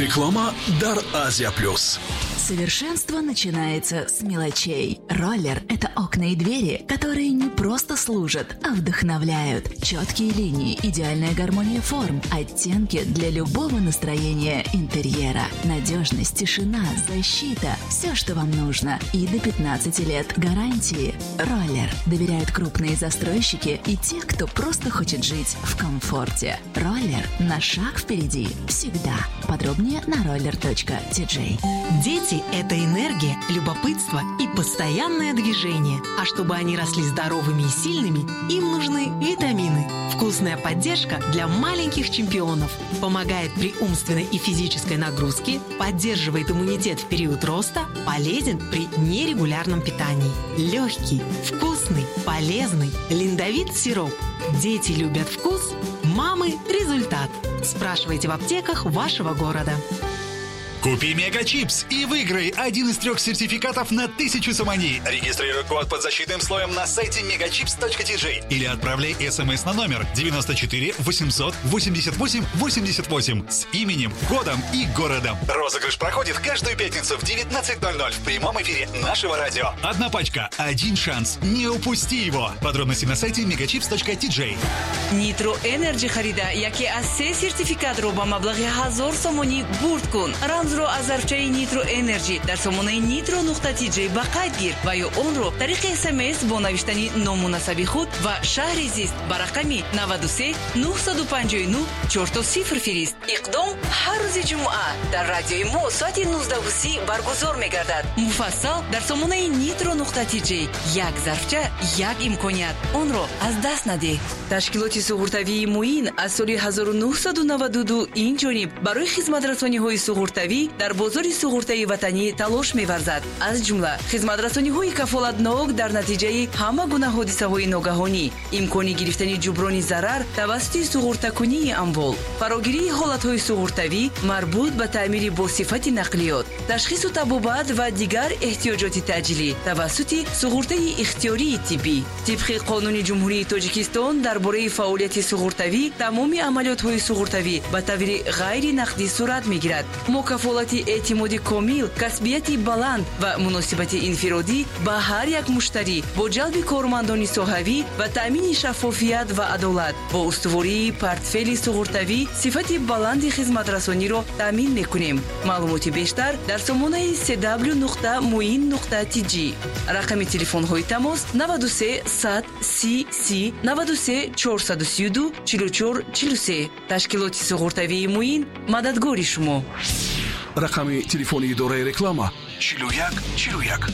Реклама дар Азия Плюс. Совершенство начинается с мелочей. Роллер – это окна и двери, которые не просто служат, а вдохновляют. Четкие линии, идеальная гармония форм, оттенки для любого настроения интерьера. Надежность, тишина, защита – все, что вам нужно. И до 15 лет гарантии. Роллер доверяют крупные застройщики и те, кто просто хочет жить в комфорте. Роллер на шаг впереди всегда. Подробнее на roller.tj. Дети – это энергия, любопытство и постоянное движение. А чтобы они росли здоровыми и сильными, им нужны витамины. Вкусная поддержка для маленьких чемпионов. Помогает при умственной и физической нагрузке, поддерживает иммунитет в период роста, полезен при нерегулярном питании. Легкий, вкусный, полезный Линдовит сироп. Дети любят вкус, мамы – результат. Спрашивайте в аптеках вашего города. Купи Мегачипс и выиграй один из трех сертификатов на 1000 сомони. Регистрируй код под защитным слоем на сайте megachips.tj или отправляй смс на номер 94 888 88 с именем, годом и городом. Розыгрыш проходит каждую пятницу в 19:00 в прямом эфире нашего радио. Одна пачка, один шанс. Не упусти его. Подробности на сайте megachips.tj. Nitro Energy харида яке аз се сертификатро ба маблағи 1000 сомонӣ бурд кун. Рамзро аз зарфчаи Nitro Energy дар сомонаи nitro.tj ба қайд гир ва ё онро тариқи СМС бо навиштани ному насаби худ ва шаҳри зист ба рақами 93 959 00 фирист. Иқдом ҳар рӯзи ҷумъа дар радиои мо соати 19:30 баргузор мегардад. Муфассал дар сомонаи nitro.tj. Як зарфча, як имконият, онро аз даст надеҳ. Ташкилоти суғуртавии «Муин» аз соли 1992 ин ҷониб барои хизматрасониҳои суғуртавӣ дар бозори суғуртаи ватанӣ талош меварзад. Аз ҷумла хизматрасониҳои кафолатнок дар натиҷаи ҳама гуна ҳодисаҳои ногаҳонӣ, имкони гирифтани ҷуброни зарар тавассути суғуртакунии амвол, фарогирии ҳолатҳои суғуртавӣ марбут ба таъмири босифати нақлиёт, ташхису табобат ва дигар эҳтиёҷоти таъҷилӣ тавассути суғуртаи ихтиёрии тиббӣ. Тибқи Қонуни Ҷумҳурии Тоҷикистон дар бораи фаъолияти суғуртавӣ, тамоми амалиётҳои суғуртавӣ ба таври ғайри нақдӣ сурат мегирад. Мо кафолати эътимоди комил, касбияти баланд ва муносибати инфиродӣ ба ҳар як муштарӣ бо ҷалби кормандони соҳавӣ ва таъмини шаффофият ва адолат бо устувории портфели суғуртавӣ сифати баланди хизматрасониро таъмин мекунем. Маълумоти бештар дар сомонаи cw.muin.tj. Рақами телефонҳои тамос: 93 100 30 30, 93 432 44 43. Ташкилоти суғуртавии «Муин» мададгори шумо. Рақами телефони идораи реклама: 41 41.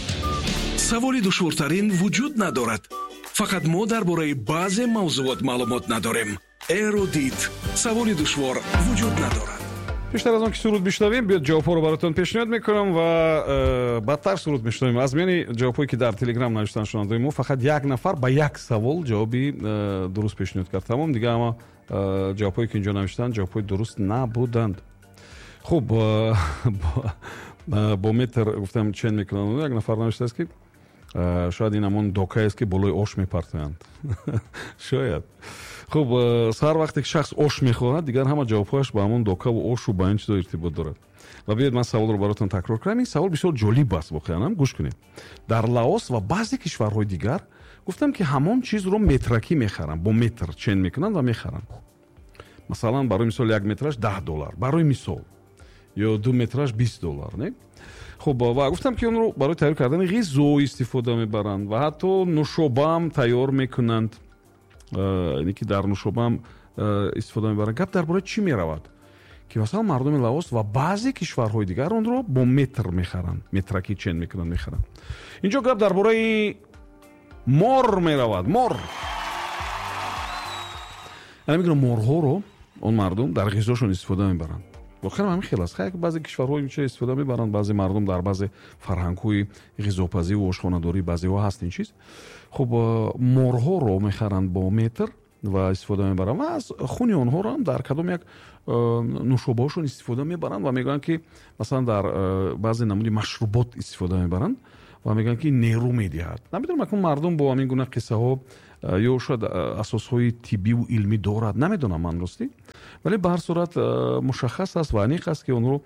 Саволи душвортарин вуҷуд надорад, фақат мо дар бораи баъзе мавзуот маълумот надорем. Эрудит. Саволи душвор вуҷуд надорад. Пештар аз он ки суруд бишнавем, биёд, ҷавобҳоро баротон пешниҳод мекунам ва баъдтар суруд мешунавем. Аз миёни ҷавобҳое, ки дар Телеграм навиштан шунавандаои мо, фақат як нафар ба як савол ҷавоби дуруст пешниҳод кард. Тамом, дига ҳама ҷавобҳое, ки инҷо навиштанд, ҷавобҳои дуруст набуданд. Хуб, бо метр гуфтам, чен мекунанд. Як нафар навиштааст, ки шояд ин ҳамон докаест, ки болои ош мепартоянд. Шояд. Хуб, сар вақте ки шахс ош мехӯрад, дигар ҳама ҷавобҳояш ба ҳамон докаву ошу ба ин чизо иртибот дорад. Ва биёед, ман саволро баротон такрор кунам. Ин савол бисёр ҷолиб аст воқеан. Гӯш кунед. Дар Лаос ва баъзе кишварҳои дигар, гуфтам, ки ҳамон чизро метракӣ мехаранд, бо метр чен мекунанд ва мехаранд. Масалан, барои мисол, 1 метраш 10 доллар, барои мисол, ё 2 метраш 20 доллар, не? Хуб, ва гуфтам, ки онро барои тайёр кардани ғизо истифода мебаранд ва ҳатто нушобаам тайёр мекунанд, яъне ки дар нушобаам истифода мебаранд. Гап дар бораи чӣ меравад, ки масалан мардуми Лаос ва баъзе кишварҳои дигар онро бо метр мехаранд, метракӣ чен мекунанд, мехаранд. Инҷо гап дар бораи мор меравад. Мор, яъне мегӯям, морҳоро он мардум дар ғизошон истифода мебаранд. Воқеан ҳамин хел аст. Хай, баъзе кишварҳо ин чиз истифода мебаранд, баъзе мардум дар баъзе фарҳангҳои ғизопазиву ошхонадорӣ баъзеҳо ҳаст ин чиз. Хуб, морҳоро мехаранд бо метр ва истифода мебаранд ва аз хуни онҳоро ҳам дар кадом як нушобаҳошон истифода мебаранд ва мегӯянд, ки масалан дар баъзе намуди машрубот истифода мебаранд ва мегӯянд, ки нерӯ медиҳад. Намедонам, акнун мардум бо ҳамин гуна қиссаҳо Ё шояд асосҳои тиббиву илмӣ дорад, намедонам ман ростӣ, вале ба ҳар сурат мушаххас аст ва аниқ аст, ки онҳо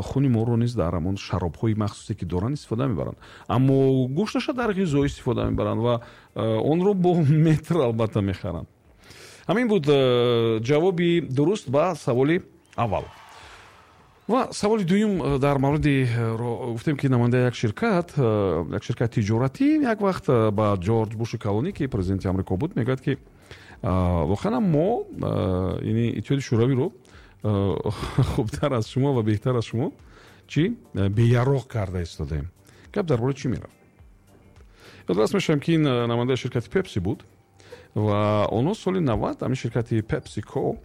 хуни моро низ дар ҳамон шаробҳои махсусе, ки доранд, истифода мебаранд, аммо гӯшташа дар ғизо истифода мебаранд ва онро бо метр албатта мехаранд. Ҳамин буд ҷавоби дуруст ба саволи аввал. Ва саволи дуюм дар мавриди гуфтем, ки намояндаи як ширкати тиҷоратӣ як вақт ба Ҷорҷ Буши калонӣ, ки президенти Амрико буд, мегӯяд, ки воқеан мо, яъне Иттиҳоди Шӯравиро, хубтар аз шумо ва беҳтар аз шумо чӣ беяроқ карда истодаем. Гап дар бораи чӣ мерафт? Ёдрас мешавем, ки ин намояндаи ширкати Пепси буд ва онҳо соли 90 ҳамин ширкати Пепсико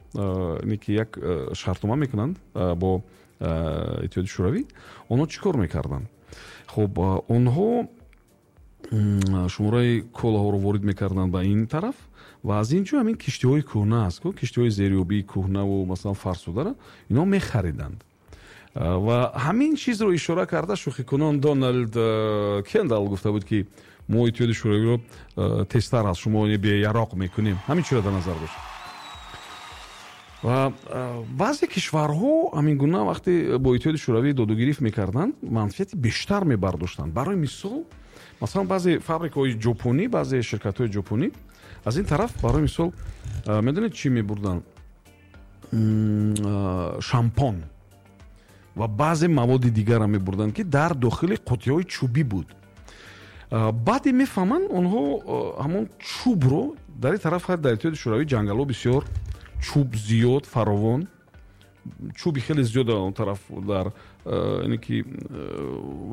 ки як шартнома мекунанд бо Иттиҳоди Шӯравӣ. Онҳо чӣ кор мекарданд? Хуб, онҳо шумораи колаҳоро ворид мекарданд ба ин тараф ва аз ин ҷо ҳамин киштиҳои кӯҳна аст, киштиҳои зериобии кӯҳнаву масалан фарсудара инҳо мехариданд. Ва ҳамин чизро ишора карда, шӯхикунон Доналд Кендал гуфта буд, ки мо Иттиҳоди Шӯравиро тезтар аз шумо беяроқ мекунем. Ҳамин чиро дар назар дошт. Ва баъзе кишварҳо ҳамин гуна вақте бо Иттиҳоди Шӯравӣ додугирифт мекарданд, манфиати бештар мебардоштанд. Барои мисол, масалан, баъзе фабрикаҳои ҷопонӣ, баъзе ширкатҳои ҷопонӣ аз ин тараф, барои мисол, медонед, чӣ мебурданд? Шампон ва баъзе маводи дигарро мебурданд, ки дар дохили қуттиҳои чӯбӣ буд. Баъде мефаҳманд онҳо ҳамон чӯбро дар ин тараф, дар Иттиҳоди Шӯравӣ ҷангалҳо бисёр, чӯб зиёд, фаровон, чӯби хеле зиёд он тараф дар ине ки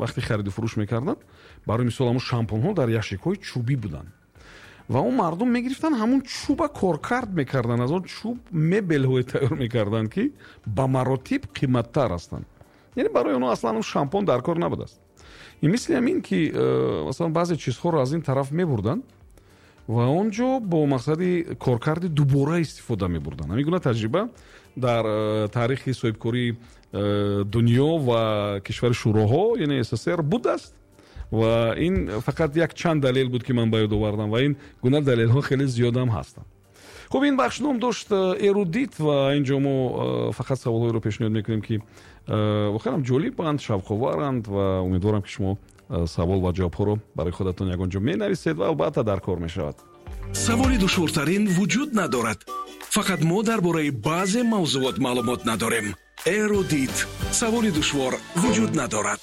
вақте хариду фурӯш мекарданд, барои мисол, ҳамон шампунҳо дар ящикҳои чӯбӣ буданд ва он мардум мегирифтанд, ҳамон чӯба коркард мекарданд, аз он чӯб мебелҳое тайёр мекарданд, ки ба маротиб қиматтар ҳастанд. Яъне барои онҳо аслан он шампун дар кор набудааст. И мисли ҳамин ки масалан баъзе чизҳоро аз ин тараф мебурданд ва он ҷо бо мақсади коркарди дубора истифода мебурданд. Ҳамин гуна таҷриба дар таърихи соҳибкории дунё ва кишвари шӯроҳо, яъне СССР, будааст. Ва ин фақат як чанд далел буд, ки ман ба ёд овардам, ва ин гуна далелҳо хеле зиёдам ҳастанд. Хуб, ин бахш ном дошт «Эрудит» ва ин ҷо мо фақат саволҳоеро пешниҳод мекунем, ки воқеан ҷолибанд, шавқоваранд ва умедворам, ки шумо савол ва ҷавобҳоро барои худатон ягон ҷо менависед ва албатта дар кор мешавад. Саволи душвортарин вуҷуд надорад, фақат мо дар бораи баъзе мавзуот маълумот надорем. Эрудит: саволи душвор вуҷуд надорад.